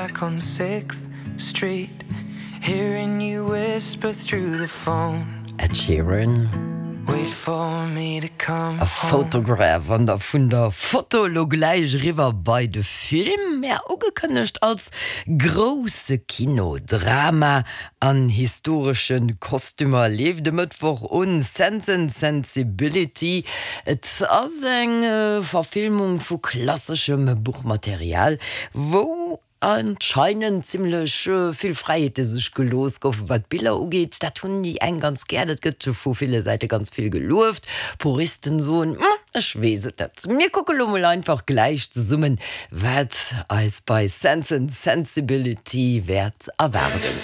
Back on Sixth Street, hearing you whisper through the phone. Ed Sheeran. Wait for me to come A home. Photograph an da vun der Foto elo gläich eriwwer bei de Film, mä ugekënnegt als grousse Kinodrama an historesche Kostümer leeft e Mëttwoch un Sense and Sensibility. Et ass eng Verfilmung vu klasseschem Buchmaterial, wou anscheinend zimmlech vill Fräiheete sech gelooss goufen, wat d'Biller ugeet. Dat hunn déi eng ganz gär, dat gëtt vu ville Säite ganz vill gelueft. Puristen soen, Ech weess et net. Mir kucke lo mol einfach gläich zesummen, wat eis bei Sense and Sensibility wäert erwaarden.